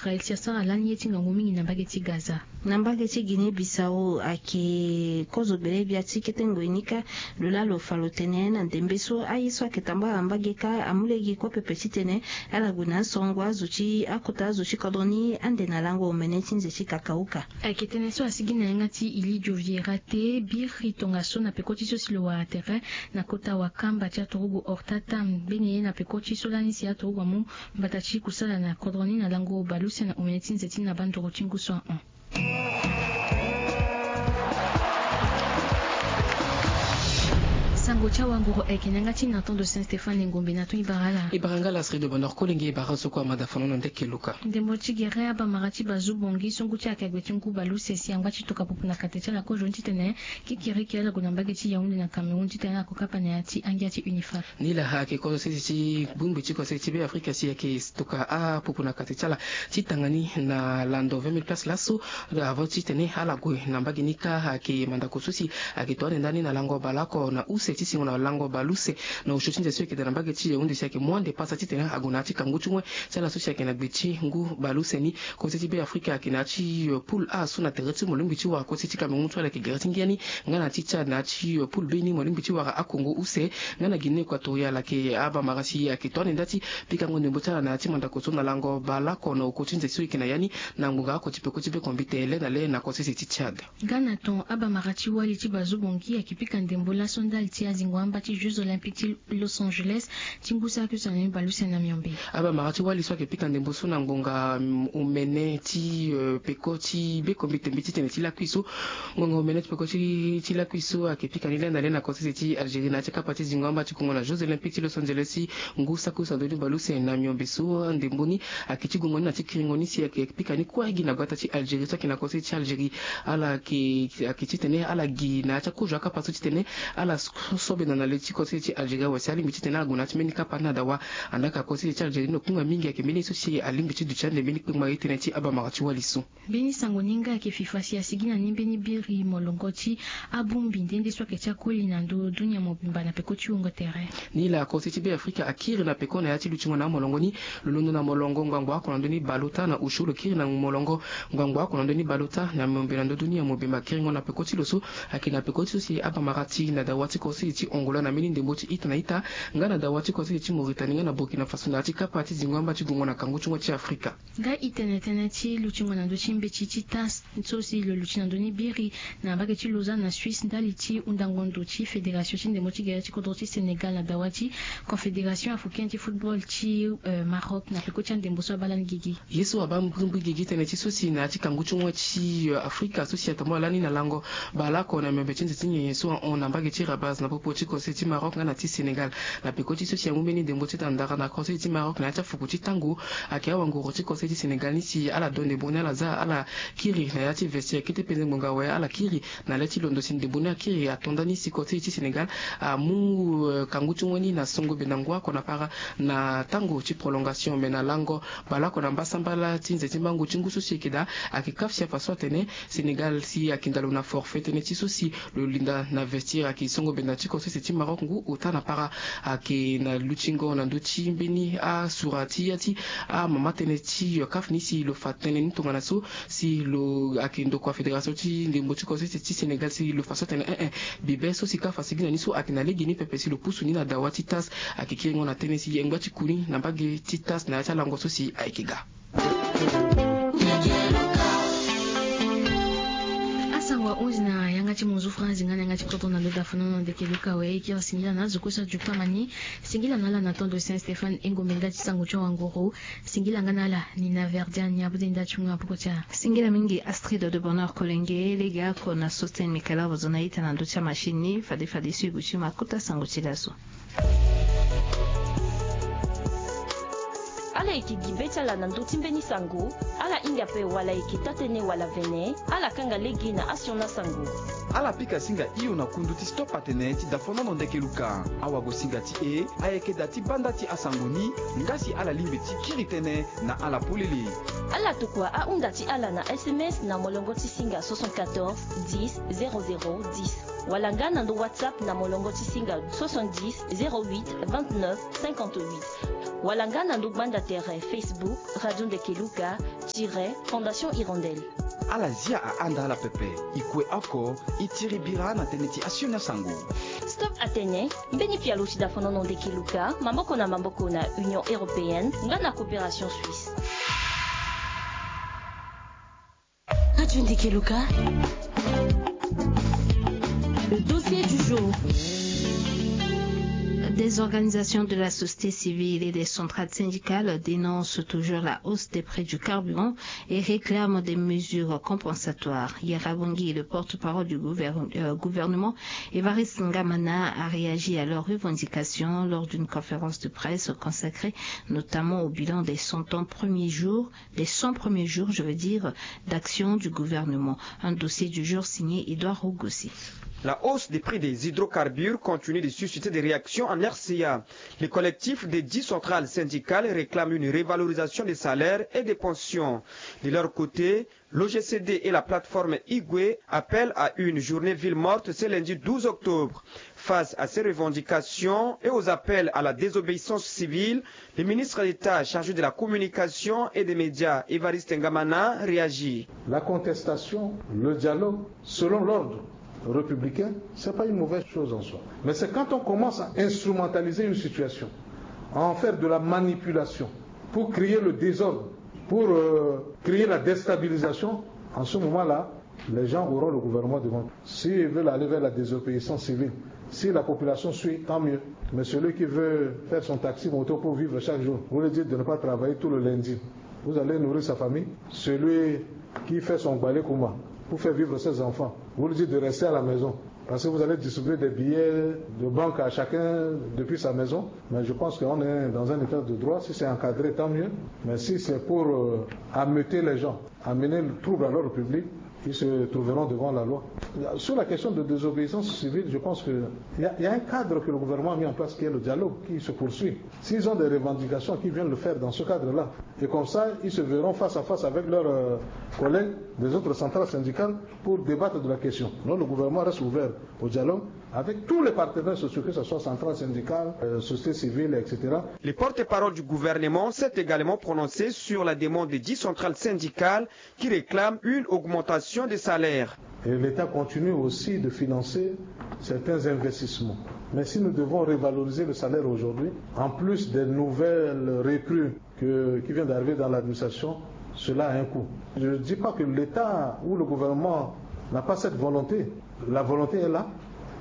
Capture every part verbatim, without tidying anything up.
Israël si asara lani ye ti ngangu mingi na mbage ti Gaza. Na mbage ti Guinée Bissau ayeke kozo gbele gbia ti kete ngoi ni kâ. Lo laa lo fa lo tene na ndembe so aye so ayeke tambala na mbage kâ amu lege kue pepe titene ala gue na asongo azo ti akota azo ti kodro ni ande na lango omene ti nze ti kakauka. Ayeke tënë so asigi na yanga ti Ilidio Vieira te biri tongaso na peko ti so si lo wara tere na kota wakamba ti aturugu Horta Tam mbeni ye na peko ti so lani si aturugu amu mbata ti kusala na kodro ni na lango baleuse na omene ti nze ti na banduru ti ngu so ahon. Sango ti awanguru ayeke na yanga ti Nathan de Saint Stéphane Ngombe na ton ibara ala. Ibara nga la Sri de Bonheur Kolenge ibara so kue amada fano na ndeke luka. Ndembo ti gere abamara ti bazu bongi so ngu ti akagbe ti ngu baleuse si angba ti toka pupu na kate ti ala kozoni titene kikiriki ala gue na mbage ti Yaoundé na Cameroun titene ala ko kapa na ya ti angia ti UNIFAP. Ni la ayeke kozo sese ti bongbi ti kose ti Be Afrika si ayeke toka apupu na kate ti ala ti tanga ni na lando vingt mille places laso. Avant titene ala gue na mbage ni kâ ayeke mandako so si ayeke to ande ndani na lango baleoko na use ti singo na lango baleuse na osio ti nze so ayeke daa na mbage ti Yaoundé si ayeke mu ande pasa titene ague na ya ti kangu ti wen ti ala so si ayeke na gbe ti ngu baleuse ni. Kose ti Be Afrika ayeke na ya ti poule A so na tere ti molingbi ti wara kose ti Cameroun so ala yeke gere ti ngia ni. Nga na ti Tchad na ya ti poule B ni molingbi ti wara akongo use. Nga na Guinée Équatoriale ayeke abamara si ayeke to ande nda ti pikango ndembo ti ala na ya ti mandako so na lango baleoko na oko ti nze so e yeke na ya ni na ngbonga oko ti peko ti be kombite le na le na kosese ti Tchad. Nga na ton abamara ti wali ti bazu bongi ayeke pika ndembo laso ndali ti azingo amba ti Jeux Olympiques ti Los Angeles ti ngu sara kio so na ni baleuse na miombe. Abamara ti wali so ayeke pika ndembo so na ngbonga omene ti peko ti be kombite mbi titene ti lakui so. Ngonga omene ti peko ti lakui so ayeke pika ni le na le na kosese ti Algérie na ya ti kapa ti zingo amba ti kongo na Jeux Olympiques ti Los Angeles ti ngu saki use na ndö ni baleuse na miombe so ndembo ni ayeke ti gongo ni na ti kiringo ni si ayeke pika ni kue gi na gbata ti Algérie so ayeke na kosese ti Algérie. Ala ayeke titene ala gi na ya ti akozo akapa so titene ala so bena na le ti kosese ti Algérie awe si alingbi titene ala gue na ya ti mbeni kapa ni na dawa. Andaa ka kosese ti Algérie ni lo kunga mingi ayeke mbeni ye so si alingbi ti duti ande mbeni kpengba ye tënë ti abamara ti wali so. Mbeni sango ni nga ayeke fifa si asigi na ni mbeni biri molongo ti abongbi nde nde so ayeke ti akoli na ndö dunia mobimba na peko ti wungo tere. Ni la kose ti Be Afrika akiri na peko na ya ti lutingo na amolongo ni. Lo londo na molongo ngbangbo oko na ndö ni balota na osio lo kiri na molongo ngbangbo oko na ndö ni balota na miombe na ndö dunia mobimba kiringo na peko ti lo so ayeke na peko ti so si abamara ti na dawa ti kose ti Angola na mbeni ndembo ti ita na ita nga na dawa ti kose ti Mauritanie nga na Burkina Faso na ya ti kapa ti zingo amba ti gongo na kangu ti ngoi ti Afrika. Nga e tene tënë ti lutingo na ndö ti mbeti ti tas so si lo luti na ndö ni biri na mbage ti Lausanne na Suisse ndali ti hundango ndo ti fédération ti ndembo ti gere ti kodro ti Sénégal na dawa ti Confédération africaine ti football ti Maroc na peko ti andembo so abaa lani gigi. Ye so abaa mbirimbiri gigi tënë ti so si na ya ti kangu ti ngoi ti Afrika so si atambula lani na lango baleoko na miombe ti nze ti nyenye so ahon na mbage ti Rabat na popo ti kose ti Maroc nga na ti Sénégal. Na peko ti so si amu mbeni ndembo ti tandara na kose ti Maroc na ya ti afuku ti tango. Ayeke awanguru ti kose ti Sénégal ni si ala do ndembo ni ala za ala kiri na ya ti vestiaire kete penze ngbonga awe ala kiri na le ti londo si ndembo ni akiri ato nda ni si kose ti Sénégal amu kangu ti ngoi ni na songo benda ngu oko na para na tango ti prolongation me na lango baleoko na mbasambala ti nze ti mbangu ti ngu so si ayeke daa. Ayeke kaf si afa so atene Sénégal si ayeke nda lo na forfait tënë ti so si lo linda na vestiaire ayeke songo benda ti kose ti Maroc ngu ota na para. Ayeke na lutingo na ndö ti mbeni asura ti ya ti amama tënë ti kaf ni si lo fa tënë ni tongana so si lo ayeke ndokua fédération ti ndembo ti kose ti Sénégal si lo fa so atene ee bibe so si kaf asigi na ni so ayeke na lege ni pepe si lo pusu ni na dawa ti tas. Ayeke kiringo na tënë si e ngba ti ku ni na mbage ti tas na ya ti alango so si ayeke ga. Asango ahunzi na yanga ti monzu France nga na yanga ti kodro na lo dafano na ndeke luka we e kiri singila na azo kue so ajuku amani. Singila na ala na tondo Saint Stéphane Engombe nga ti sango ti wanguru. Singila nga na ala ni na verdian ni abode nda ti hunga poko ti ala. Singila mingi Astrid de Bonheur Kolenge lege ako na sosten Michael Arvozo na ita na ndö ti amachine ni fade fade so e gue ti ma kota sango ti laso. Ala yeke gi be ti ala na ndö ti mbeni sango. Ala hinga ape wala yeke taa-tënë wala vene. Ala kanga lege na asiona sango. Ala pika singa hio na kundu ti stop atene ti dafonono ndeke luka. Awagosinga ti e ayeke da ti banda ti asango ni. Nga si ala lingbi ti kiri tënë na ala polele. Ala tokua ahunda ti ala na sms na molongo ti singa soixante-quatorze dix zéro zéro dix. Wala nga na ndo WhatsApp na molongo ti singa soixante-dix zéro huit vingt-neuf cinquante-huit. Wala nga na ndo gbanda tere Facebook Radio Ndeke Luka. Tiret, Fondation Hirondelle. Ala zia ahanda ala pepe. E kue oko, e tiri bira na tënë ti asioni asango. Stop atene, mbeni pialo si dafonono ndeke luka maboko na maboko na Union européenne nga na coopération suisse. Radio Ndeke Luka. Le dossier du jour. Des organisations de la société civile et des centrales syndicales dénoncent toujours la hausse des prix du carburant et réclament des mesures compensatoires. Yara Bongi, le porte-parole du gouvern-, euh, gouvernement, Évariste Ngamana, a réagi à leurs revendications lors d'une conférence de presse consacrée notamment au bilan des cent ans premiers jours, des cent premiers jours, je veux dire, d'action du gouvernement. Un dossier du jour signé Édouard Rougossi. La hausse des prix des hydrocarbures continue de susciter des réactions en R C A. Les collectifs des dix centrales syndicales réclament une revalorisation des salaires et des pensions. De leur côté, l'O G C D et la plateforme Igwe appellent à une journée ville morte ce lundi douze octobre. Face à ces revendications et aux appels à la désobéissance civile, le ministre d'État chargé de la communication et des médias, Évariste Ngamana, réagit. La contestation, le dialogue, selon l'ordre républicain, c'est pas une mauvaise chose en soi. Mais c'est quand on commence à instrumentaliser une situation, à en faire de la manipulation, pour créer le désordre, pour, euh, créer la déstabilisation, en ce moment-là, les gens auront le gouvernement devant. S'ils veulent aller vers la désobéissance civile, si la population suit, tant mieux. Mais celui qui veut faire son taxi moto pour vivre chaque jour, vous lui dites de ne pas travailler tout le lundi. Vous allez nourrir sa famille. Celui qui fait son balai kouma pour faire vivre ses enfants, vous lui dites de rester à la maison. Parce que vous allez distribuer des billets de banque à chacun depuis sa maison. Mais je pense qu'on est dans un état de droit. Si c'est encadré, tant mieux. Mais si c'est pour, euh, ameuter les gens, amener le trouble à l'ordre public, ils se trouveront devant la loi. Sur la question de désobéissance civile, je pense que il y a, il y a un cadre que le gouvernement a mis en place qui est le dialogue qui se poursuit. S'ils ont des revendications, qu'ils viennent le faire dans ce cadre-là. Et comme ça, ils se verront face à face avec leurs, euh, collègues des autres centrales syndicales pour débattre de la question. Donc le gouvernement reste ouvert au dialogue avec tous les partenaires sociaux, que ce soit centrales syndicales, euh, société civile, et cetera. Le porte-parole du gouvernement s'est également prononcé sur la demande des dix centrales syndicales qui réclament une augmentation des salaires. Et l'État continue aussi de financer certains investissements. Mais si nous devons revaloriser le salaire aujourd'hui, en plus des nouvelles recrues que, qui viennent d'arriver dans l'administration, cela a un coût. Je ne dis pas que l'État ou le gouvernement n'a pas cette volonté. La volonté est là,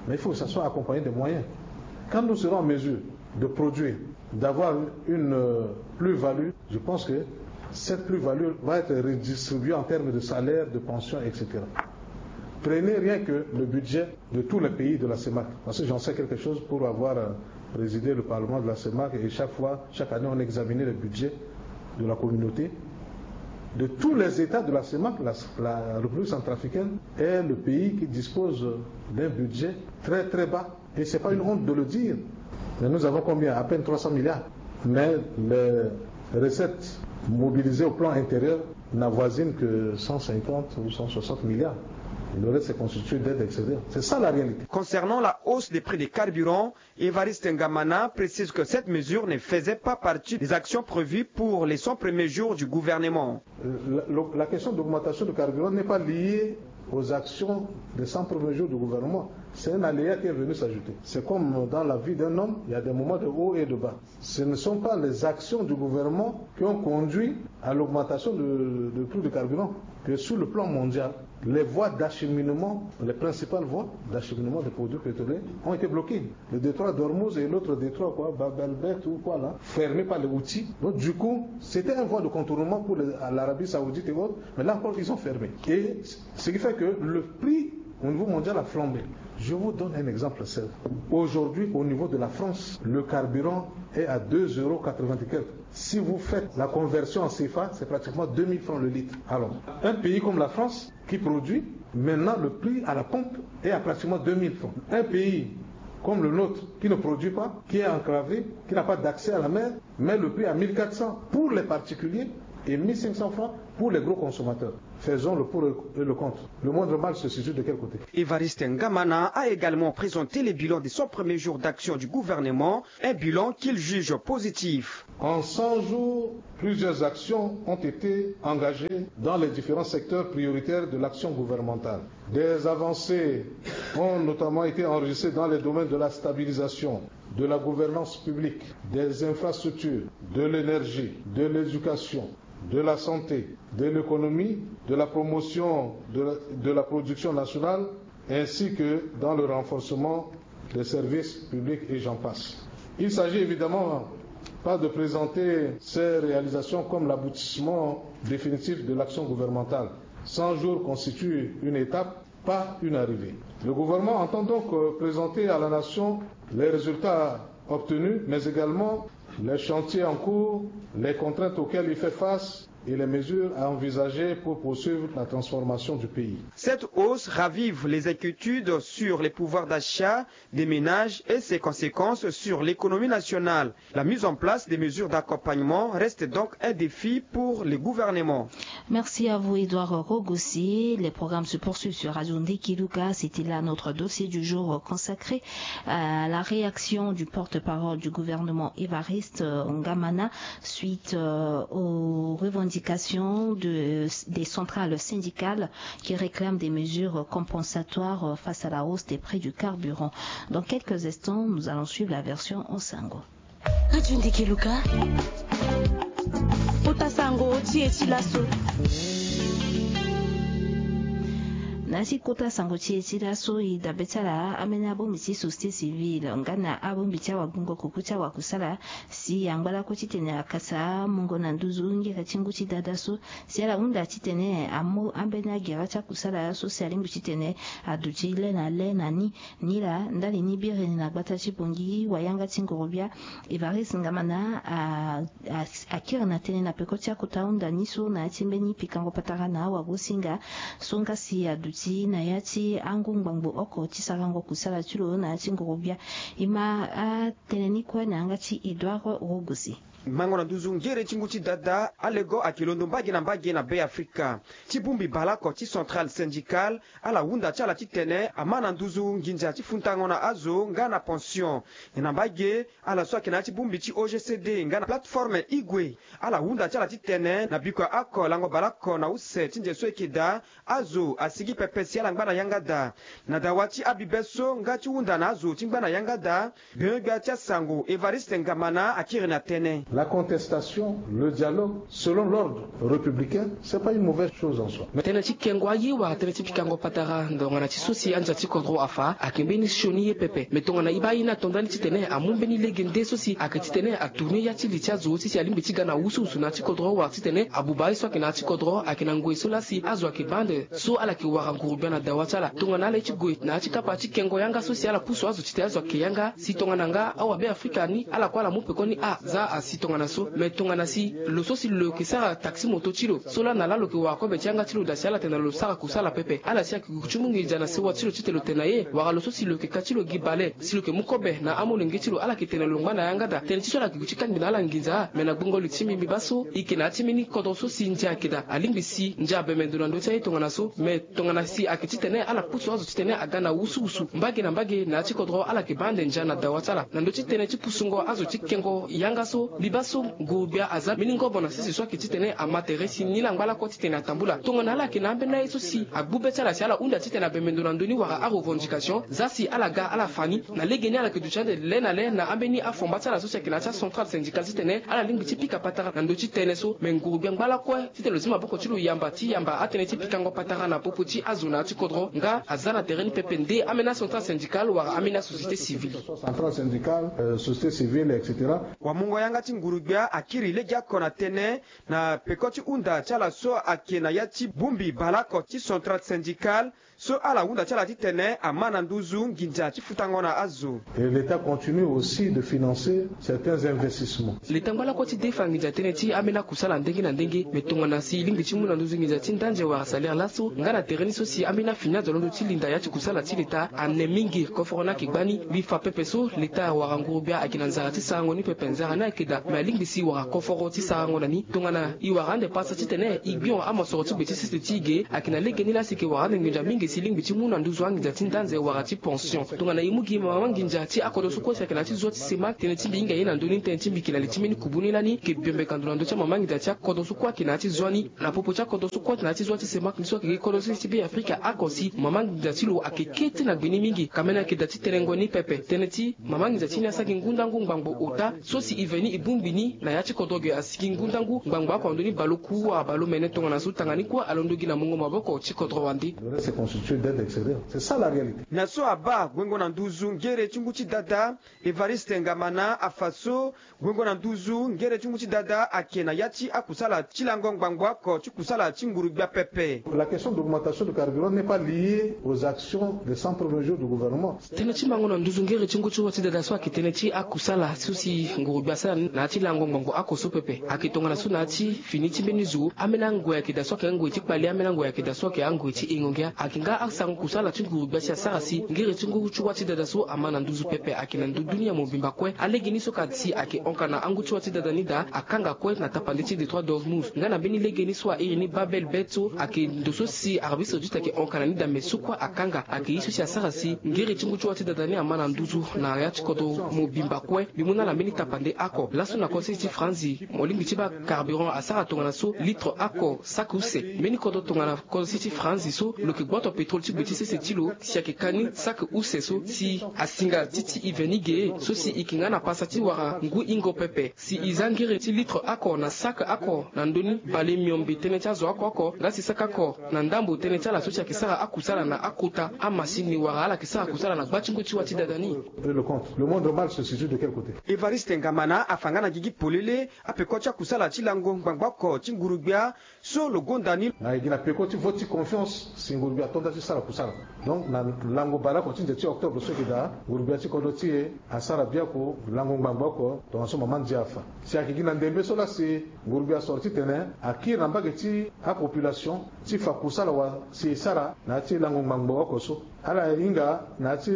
mais il faut que ça soit accompagné des moyens. Quand nous serons en mesure de produire, d'avoir une, euh, plus-value, je pense que cette plus-value va être redistribuée en termes de salaire, de pension, et cetera. Prenez rien que le budget de tous les pays de la CEMAC, parce que j'en sais quelque chose pour avoir, euh, présidé le parlement de la CEMAC, et chaque fois, chaque année, on examinait le budget de la communauté. De tous les États de la CEMAC, la, la République centrafricaine est le pays qui dispose d'un budget très, très bas. Et c'est pas une honte de le dire. Mais nous avons combien ? À peine trois cents milliards. Mais les recettes mobilisées au plan intérieur n'avoisinent que cent cinquante ou cent soixante milliards. Et le reste est constitué d'aide extérieure. C'est ça la réalité. Concernant la hausse des prix des carburants, Évariste Ngamana précise que cette mesure ne faisait pas partie des actions prévues pour les cent premiers jours du gouvernement. La, la, la question d'augmentation du carburant n'est pas liée aux actions des cent premiers jours du gouvernement. C'est un aléa qui est venu s'ajouter. C'est comme dans la vie d'un homme, il y a des moments de haut et de bas. Ce ne sont pas les actions du gouvernement qui ont conduit à l'augmentation de, de prix du carburant. Que sur le plan mondial, les voies d'acheminement, les principales voies d'acheminement des produits pétroliers ont été bloquées. Le détroit d'Ormuz et l'autre détroit, quoi, Bab el-Mandeb ou quoi là, fermé par les Houthis. Donc du coup, c'était une voie de contournement pour les, l'Arabie Saoudite et autres. Mais là encore, ils ont fermé. Et ce qui fait que le prix au niveau mondial a flambé. Je vous donne un exemple simple. Aujourd'hui, au niveau de la France, le carburant est à deux euros quatre-vingt et quelques. Si vous faites la conversion en CFA, c'est pratiquement deux mille francs le litre. Alors, un pays comme la France, qui produit, maintenant le prix à la pompe est à pratiquement deux mille francs. Un pays comme le nôtre, qui ne produit pas, qui est enclavé, qui n'a pas d'accès à la mer, met le prix à mille quatre cents pour les particuliers, et mille cinq cents francs pour les gros consommateurs. Faisons le pour et le contre. Le moindre mal se situe de quel côté ? Évariste Ngamana a également présenté les bilans de son premier jour d'action du gouvernement, un bilan qu'il juge positif. En cent jours, plusieurs actions ont été engagées dans les différents secteurs prioritaires de l'action gouvernementale. Des avancées ont notamment été enregistrées dans les domaines de la stabilisation, de la gouvernance publique, des infrastructures, de l'énergie, de l'éducation, de la santé, de l'économie, de la promotion de la, de la production nationale, ainsi que dans le renforcement des services publics et j'en passe. Il s'agit évidemment pas de présenter ces réalisations comme l'aboutissement définitif de l'action gouvernementale. Cent jours constituent une étape, pas une arrivée. Le gouvernement entend donc, euh, présenter à la nation les résultats obtenus, mais également les chantiers en cours, les contraintes auxquelles il fait face et les mesures à envisager pour poursuivre la transformation du pays. Cette hausse ravive les inquiétudes sur les pouvoirs d'achat des ménages et ses conséquences sur l'économie nationale. La mise en place des mesures d'accompagnement reste donc un défi pour le gouvernement. Merci à vous, Edouard Rogosi. Les programmes se poursuivent sur Radio Ndeki Luka. C'était là notre dossier du jour consacré à la réaction du porte-parole du gouvernement, Évariste, euh, Ngamana, suite, euh, aux revendications de, des centrales syndicales qui réclament des mesures compensatoires, euh, face à la hausse des prix du carburant. Dans quelques instants, nous allons suivre la version en sango. Radio Ndeki Luka. Kota sango ti e ti laso. Na si kota sango ti e ti laso, e dabe ti ala ambeni abongbi ti société civile nga na abongbi ti awagbungo kuku ti awakusala si angba lakue titene akasa mungo na nduzu ngere ti ngu ti dada so, si ala hunda titene amu ambeni agera ti akusala so si alingbi titene aduti le na le na ni. Nilaa ndali ni biri ni na gbata ti Bangui, wayanga ti ngurubia Évariste Ngamana a, a, akiri na tënë na peko ti akota hunda ni so na ya ti mbeni pikango patara na awagosinga so nga si aduti na ya ti angu ngbangbo oko ti sarango kusala ti lo na ya ti ngurubia. E ma atënë ni kue na yanga ti Edouard Rogosi. Mango na nduzu ngere ti ngu ti dada, alego ayeke londo mbage na mbage na Beafrika. Ti bongbi baleoko ti centrale syndicale, ala hunda ti ala titene ama na nduzu nginza ti futango na azo nga na pension. Na mbage, ala so ayeke na ya ti bongbi ti O G C D nga na plateforme Igwe, ala hunda ti ala titene na bikua oko lango baleoko na use ti nze so e yeke daa, azo asigi pepe si ala ngba na yanga daa. Na dawa ti abibe so nga ti hunda na azo ti ngba na yanga daa, gbenyo-gbia ti asango Évariste Ngamana akiri na tënë. La contestation, le dialogue, selon l'ordre républicain, c'est pas une mauvaise chose en soi. Mais tënë ti kengo aye wala tënë ti pikango patara ndongana ti so si anza ti kodro afa ayeke mbeni sioni ye pepe. Mais tongana e baa ye ni ato ndani titene amu mbeni lege nde so si ayeke titene atourne ya ti li ti azo ti si alingbi ti ga na wusuwusu na ya ti kodro wala titene abuba ye so ayeke na ya ti kodro ayeke na ngoi so laa si azo ayeke baa ande so ala yeke wara ngurubia na dawa ti ala. Tongana ala ye ti gue na ya ti kapa ti kengo yanga so si ala pusu azo titene azo ayeke yanga si tongana nga awabe Afrika ni ala kue ala mu pekoni a za asi tongana so. Mais tongana si lo so si lo yeke sara taxi moto ti lo so laa na laa lo yeke wara kobe ti yanga ti lo daa si ala tene na lo sara kusala pepe, ala si ayeke gue ti mu nginza na sewa ti lo titene lo tene na ye, wala lo so si lo yeke ka ti lo gi bale si lo yeke mu kobe na amolenge ti lo, ala yeke tene na lo ngba na yanga daa. Tënë ti so ala yeke gue ti kangbi na ala nginza. Mais na gbongo li ti mbi, mbi baa so e yeke na ya ti mbeni kodro so si ndia ayeke daa, alingbi si ndia abembe ndo na ndö ti aye tongana so. Mais tongana si ayeke titene ala pusu azo titene aga na wusuwusu mbage na mbage na ya ti kodro, ala yeke baa ande ndia na dawa ti ala. Na ndö ti tënë ti pusungo azo ti kengo yanga so, mbi baa so ngurubia aza mbeni ngobo na sese so ayeke titene ama tere si ni laa angba lakue titene atambula. Tongana ala yeke na ambeni aye so si agbu be ti ala si ala hunda titene abembe ndo na ndö ni wala arevendication, za si ala ga ala fa ni. Na lege ni ala yeke duti ande le na le na ambeni afomba ti ala so si ayeke na ya ti acentrale syndicale titene ala lingbi ti pika patara na ndö ti tënë so. Me ngurubia angba lakue titene lo zi maboko ti lo yamba ti yamba atënë ti pikango patara na popo ti azo na ya ti kodro nga aza na tere ni pepe nde ambeni acentrale syndicale wala ambeni asociété civile. Centrale syndicale, euh, société civile, et cetera. Wamungo yanga ti ngurubia akiri legeoko na tënë na peko ti hunda ti ala so ayeke na ya ti bongbi baleoko ti centrale syndicale so ala hunda ti ala titene ama na nduzu nginza ti futango na azo. Et l'État continue aussi de financer certains investissements. Leta angba lakue ti defa nginza tënë ti ambeni akusala ndenge na ndenge. Me tongana si e lingbi ti mu na nduzu nginza ti ndanze wala salaire laso nga na tere ni so si ambeni afini azo londo ti linda ya ti kusala ti leta ane mingi. Koforo ni ayeke gbani. Mbi fa pepe so leta wala ngurubia ayeke na nzara ti sarango ni pepe, nzara ni ayeke daa. Me alingbi si wara koforo ti sarango na ni tongana e wara ande pasa titene e gbio amosoro ti gbe ti sese ti e ge. Ayeke na legeni laa si e yeke wara ande nginza mingi si e lingbi ti mu na nduzu anginza ti ndanze wara ti pension. Tongana e mu gi mama nginza ti akodro so kue si ayeke na ya ti zo ti semak, tënë ti mbi hinga ye na ndö ni tënë ti mbi yeke na li ti mbeni kubu ni lani. E yeke biombe ka ndo na ndö ti amama nginza ti akodro so kue ayeke na ya ti zo ni. Na popo ti akodro so kue na ya ti zo ti semak ni so ayeke gi kodro sese ti Be Afrika oko si mama nginza ti lo ayeke kete na gbe ni mingi. Kamene ayeke da ti terengo ni pepe. Tënë ti mama nginza ti ni asara gi ngu ndangu ngbangbo ota so si e ve ni e bongbi ni na ya ti kodro ge asi gi ngu ndangu ngbangbo oko na ndö ni baleoku wala baleomene tongana so tanga ni kue alondo gi na mungo maboko ti kodro wande. Le reste est constitué d'aide extérieure. C'est ça la réalité. Na so abaa guengo na nduzu ngere ti ngu ti dada Evariste Ngamana afa so guengo na nduzu ngere ti ngu ti dada ayeke na ya ti akusala ti lango ngbangbo oko ti kusala ti nguru-gbia pepe. La question d'augmentation du carburant n'est pas liée aux actions des cent premiers jours du gouvernement. Tënë ti mango na nduzu ngere ti ngu ti wa ti dada so ayeke tënë ti akusala so si nguru-gbia asara na ya ti lango ngbangbo oko so pepe. Ayeke tongana so na ya ti fini ti mbeni zo ambeni angoi ayeke daa so ayeke angoi ti kpali, ambeni angoi ayeke daa so ayeke angoi ti hingo ngia. Ayeke nga asango kusala ti nguru-gbia si asara si ngere ti ngu ti wa ti dada so ama na nduzu pepe ayeke na ndö dunia mobimba kue. Alege ni so ka si ayeke honka na angu ti wa ti dada ni daa akanga kue na tapande ti Detroit d'Ormuz nga na mbeni lege ni so airi ni Babel Bed so ayeke ndo so si Arabie Saoudite ayeke honka na ni daa me so kue akanga ayeke ye so si asara si ngere ti ngu ti wa ti dada ni ama na nduzu na ya ti kodro mobimba kue. Mbi mu na ala mbeni tapande oko laso na kodro sese ti Franzi mo lingbi ti baa carburant asara tongana so litre oko saki use. Mbeni kodro tongana kodro sese ti Franzi so lo yeke gboto pétrole ti gbe ti sese ti lo si ayeke ka ni saki use so si asinga ti ti e ve ni ge so si e yeke nga na pasa ti wara ngu hingo pepe. Si e za ngere ti litre oko na saki oko na ndö ni bale miombe tënë ti azo oko oko nga si saki oko na ndambo tënë ti ala so si ayeke sara akusala na akota amasini wala ala yeke sara kusala na gba ti ngu ti wa ti dada ni. Et le compte. Le monde normal se situe de quel côté? Evariste Ngamana afa nga na gigi polele apeko ti akusala ti lango ngbangbo oko ti nguru-gbia so lo gonda ni. Na e gi na peko ti vote ti confiance si nguru-gbia ato nda ti sara kusala. Donc na lango baleoko ti nze ti octobre so e yeke daa, nguru-gbia ti kodro ti e asara biaku lango ngbangbo oko tongana so mama ndia afa. Si ayeke gi na ndembe so laa si nguru-gbia asoro titene akiri na mbage ti apopulation ti fa kusala wa si e sara na ya ti lango ngbangbo oko so. Ala hinga na ya ti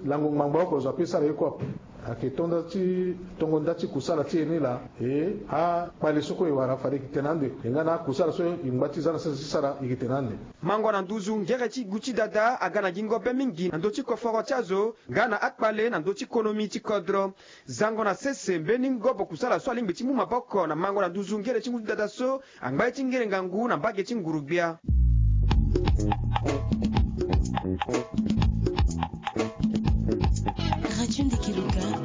lango ngbangbo oko zo ape e sara ye kue ape. Ayeke to nda ti tongo nda ti kusala ti e ni laa. E akpale so kue e wara fade e yeke tene ande. E nga na akusala so e ngba ti za na sese ti sara e yeke tene ande. Mango na nduzu ngere ti gu ti dada aga na gingo be mingi na ndö ti koforo ti azo nga na akpale na ndö ti konomi ti kodro. Zango na sese mbeni ngobo kusala so alingbi ti mu maboko na mango na nduzu ngere ti ngu ti dada so angba ye ti ngere ngangu na mbage ti nguru-gbia. Radio Ndekelo.